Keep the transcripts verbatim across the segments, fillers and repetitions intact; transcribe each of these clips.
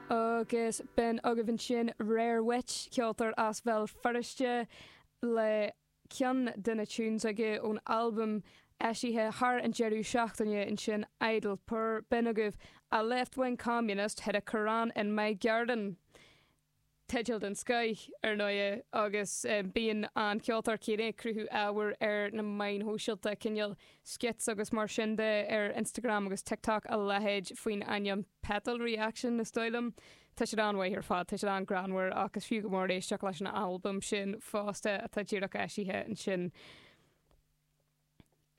Agus b'in agaibh ansin Rare Witch, ceoltóir as Béal Feirste le ceann de na tunes aige ón albam eisithe thar an deireadh seachtaine ansin Idle Poor b'in agaibh a left wing communist hid a Quran in my garden. Teideal den scoth ar ndóigh agus um, bíonn an ceoltóir céanna ag cruthú ábhar ar na meáin shóisialta cineál skits agus mar sin de ar Instagram agus TikTok a leithéid faoin ainm Petal Reaction is dóigh liom. Tá sé an-mhaith ar fad, tá sé an-ghreannmhar agus fiú go mór éisteacht leis an albam sin fosta atá díreach eisithe ansin.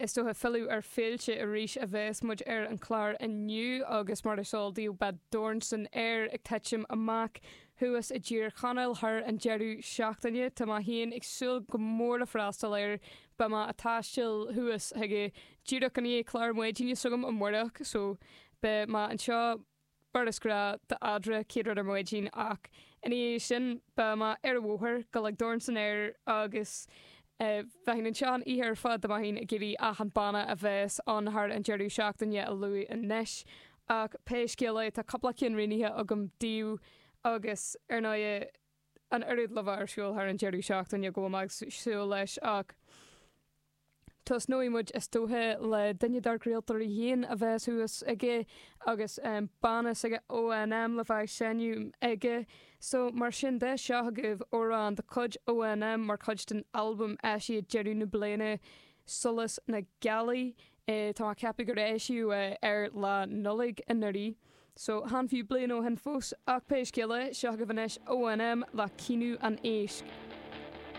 Is dócha filleadh ar féilte arís a bheas muid ar an chlár inniu agus mar is eol daoibh beidh Dorn san Aer ag titim amach thuas i dTír Chonaill thar an deireadh seachtaine Tá mé féin ag súil go mór le freastal air beidh mé ag taisteal thuas chuige díreach i ndiaidh clár maidine s'agam amárach so beidh mé anseo mar is gnách d'eadra céad rud ar maidin ach ina dhiaidh sin beidh mé ar an bhóthar go le Dorn san Aer agus bheinn anseo an oíche ar fad dá mbeinn ag iarraidh achan banna a bheas ann thar an deireadh seachtaine a lua anois ach pé scéal é tá cúpla ceann roghnaithe agam daoibh agus ar ndóigh an oiread le bheith ar siúl thar an deireadh seachtaine go bhfuil mé ag súil leis ach tosnóidh muid is dócha le duine dár gcraoltóirí féin a bheas thuas aige agus um, banna s'aige ONM le bheith ag seinm aige. So mar sin de seo agaibh amhrán de chuid ONM mar chuid den albam eisithe deireadh na bliana Solas na Gealaí e, tá ceapadh gur eisíodh é ar lá Nollag anuraidh. So chan fiú bliain ó shin fós ach pé scéal é seo agaibh anois ONM le Caoineadh an Éisc.